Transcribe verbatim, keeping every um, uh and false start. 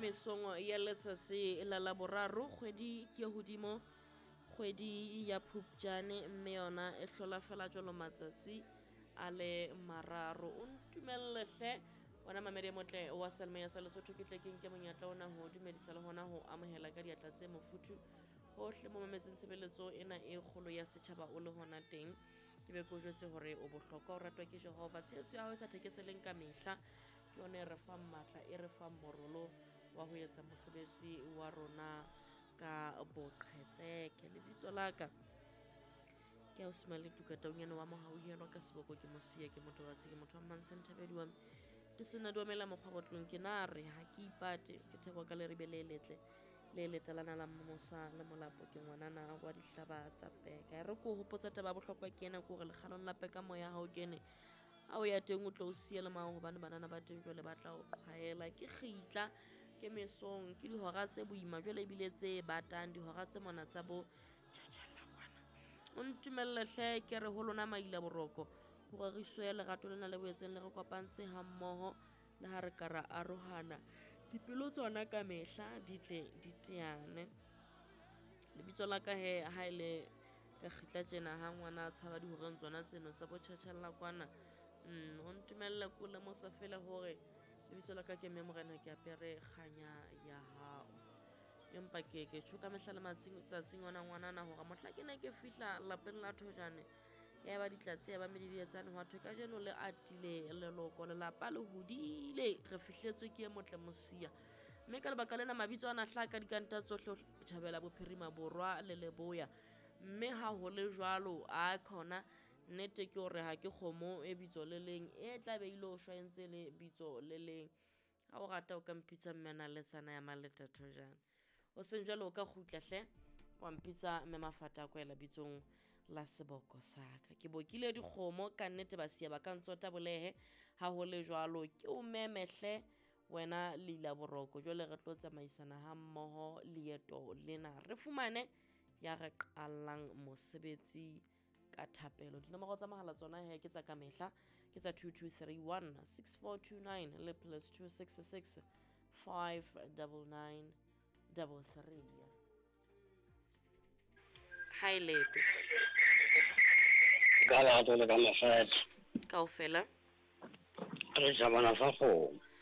mesong ya letsatsi la Laboraro, kgwedi ke hodimo, kgwedi ya Phupjane, mme yona e hlola fela jwalo matsatsi a le mararo. O ntumelle hle wena mamedi e motle wa Seyalemoya sa Lesotho, ke tle ke nke monyetla ona ho dumedisa le hona ho amohela ka diatla tse mofuthu hohle mo mametseng tshebeletso ena e kgolo ya setjhaba o le hona teng. Ke be ke o jwetse hore o bohlokwa, o ratwa ke Jehova. Tshehetso ya hao e sa thekeseleng ka mehla ke yona e re fang matla, e re fang morolo wa ho etsa mosebetsi wa rona ka boqhetseke. Lebitso la ka ke Ausi Tuka Taunyane wa Mohauhelwa, ka seboko ke Mosia, ke motho wa ke motho wa Mmantshe Thabedi wa ke sena duamela mokgwa botlong ke na re ha ke ipate, ke thekwa ka leribe le letle le letalana la mmosa le molapo, ke ngwanana wa dihlaba tsa peka. E re ko hopotsa taba ya bohlokwa ke ena, ke hore lekgalong la peka moya ha o kene, ha o ya teng o tlo o siya le mang, hobane banana ba teng jwale ba tla o qhwaela. Ke kgitla, ke mesong, ke dihora tse boima jwale ebile tse batang, dihora tse mona tsa bo tjhatjhalla kwana. O ntumelle hle ke re ho lona maila boroko, ho reriswe ya lerato lena le boetseng le re kopantse ha mmoho, le ha re ka ra arohana, dipelo tsona ka mehla di tle di teane. Lebitso la ka he ha ele ka kgitla tjena ha ngwana a tshaba dihoreng tsona tseno tsa bo tjhatjhalla kwana. Mm, o ntumelle ko lemosa fela hore lebitso la ka ke mme Morena, ke apere kganya ya hao. Empa ke ke tjho ka mehla le matsatsing ona ngwanana hore mohla ke ne ke fihla lapeng la Thojane, ya ba ditlatse, ya ba medidietsane, hwa thwe kajeno le atile leloko, lelapa le hodile, re fihletswe ke e motle Mosia. Mme ka lebaka lena mabitso ana hlaha ka dikanta tsohle Tjhabela, Bophirima, Borwa le Leboya. Mme ha ho le jwalo, a khona nnete ke hore ha ke kgomo e bitso le leng e tla be ile ho shwa e ntse le bitso le leng. Ha o rata o ka mpitsa mme Naletsana ya Maleta Thojane. O seng jwalo o ka kgutla hle wa mpitsa mme Mafata a kwela bitsong la seboko sa ka. Ke bokile dikgomo ka nnete, ba siya ba ka ntsota bolehe. Ha ho le jwalo ke o meme hle wena leila boroko, jwale re tlo tsamaisana ha mmoho leeto lena, re fumane ya re qallang mosebetsi ka thapelo. Dinomoro tsa mohala tsona he ke tsa ka mehla, ke tsa two two three one six four two nine le plus two six six five double nine double three. Ha e lepe. Ka lerato le ka mafethe. Kaofela. Re jabana sa kgomo.